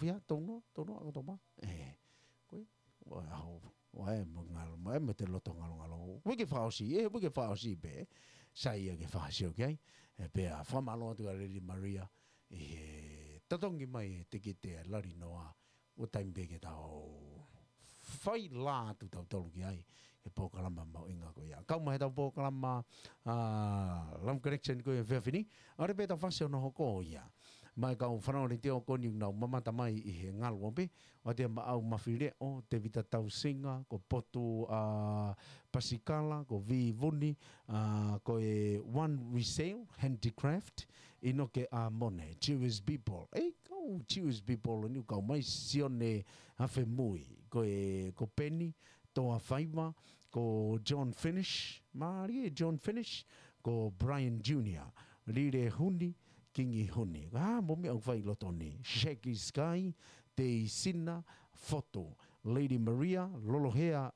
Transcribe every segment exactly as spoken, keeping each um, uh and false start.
pia, tau noa, tau noa, ʻOkatopa. ʻE, ko e, ʻo e ʻaho, ʻo e mo ngalo, mo e mo te loto ngalongalo. Uike fakaʻosi, ʻe, uike fakaʻosi pē. Sai ia ke fakasio ki ai. ʻE, pea fakamālō atu kia Lady Maria ʻi he totongi mai e tikite ʻa e lali noa. ʻO taimi pē ke tau fai lā atu tautolu ki ai, he polokalama mahuʻinga ko ia. Kau mai he tau polokalama, ʻa, Love Connection ko e efiafi ni, ʻa ē pē tau fasi ʻo nau hoko ia. Mai kau fanongo ni te o ko ni nau mamata mai ʻi he ngalu ʻo pē, ʻo te maʻau Mafileʻo, Tevita Tausinga, ko Potu, ʻa, Pasikala, ko Vivuni, ʻa, ko e One Resale, Handicraft, ʻInoke ʻAmone, Jewish People. ʻEi, kau Jewish People, ni kau mai Sione Hafemui, ko e, ko Peni, Toa Faiva, ko John Finish, Marie John Finish, ko Brian Junior, Lile Huni, Kingi Huni. ʻA, mo mi au fai loto ni. Shaggy Sky, Teisina, Foto, Lady Maria, Lolohea,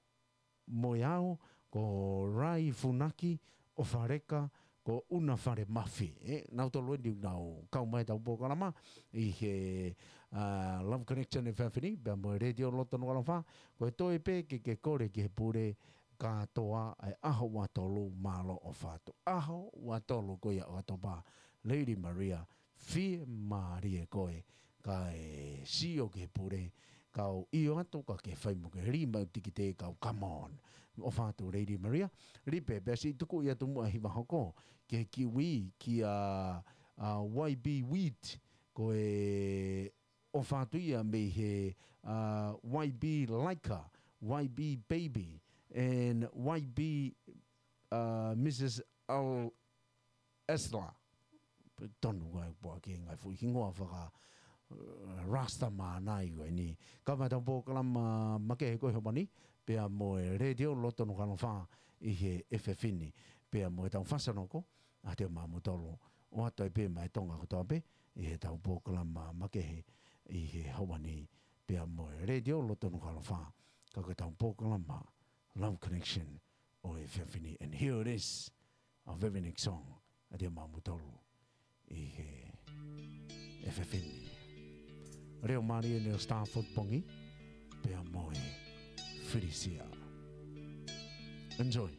Moeao, ko Rai Funaki, ʻOfaleka, ko Una Fale Mafi. ʻE, nau tolu eni nau kau mai tau polokalama, ʻi he, ʻa, Love Connection efiafi ni, pea mo e Letiō Loto Nukuʻalofa, ko e toe pē ke ke kole ki he pule kātoa ʻa e ʻaho ua tolu mālō ʻofa atu. ʻAho ua tolu ko ia ʻOkatopa, Lady Maria, fiemālie koe, kae sio ki he pule, kau ʻio atu ka ke fai mo ke lima tikite kau come on. ʻOfa atu Lady Maria, lipe pea siʻi tuku ia tumu ʻa hiva hoko, ke kiwi kia, ʻa, Y B Wheat, ko e ʻofa atu ia mei he, ʻa, Y B Laika, Y B Baby, and Y B, ʻa, Missus Al Esla. Tonu ngai pua ke ngai fuʻi hingoa faka, ʻa, Rasta mānai ko eni. Kau mai tau polokalama makehe ko e homani, pea mo e Letiō Loto Nukuʻalofa ʻi he efiafi ni, pea mo e tau fasanoko, ʻa te mamu tolo, ʻo atu ai pē mai Tonga kotoa pē, ʻi he tau polokalama makehe ʻi he homani, pea mo e Letiō Loto Nukuʻalofa, ka ko e tau polokalama Love Connection ʻo e efiafi ni. And here it is, our very next song, ʻa te mamu tolo ʻi he efiafi ni. Leo Marie Neil Starford Pongi, pea mo e Felicia. Enjoy.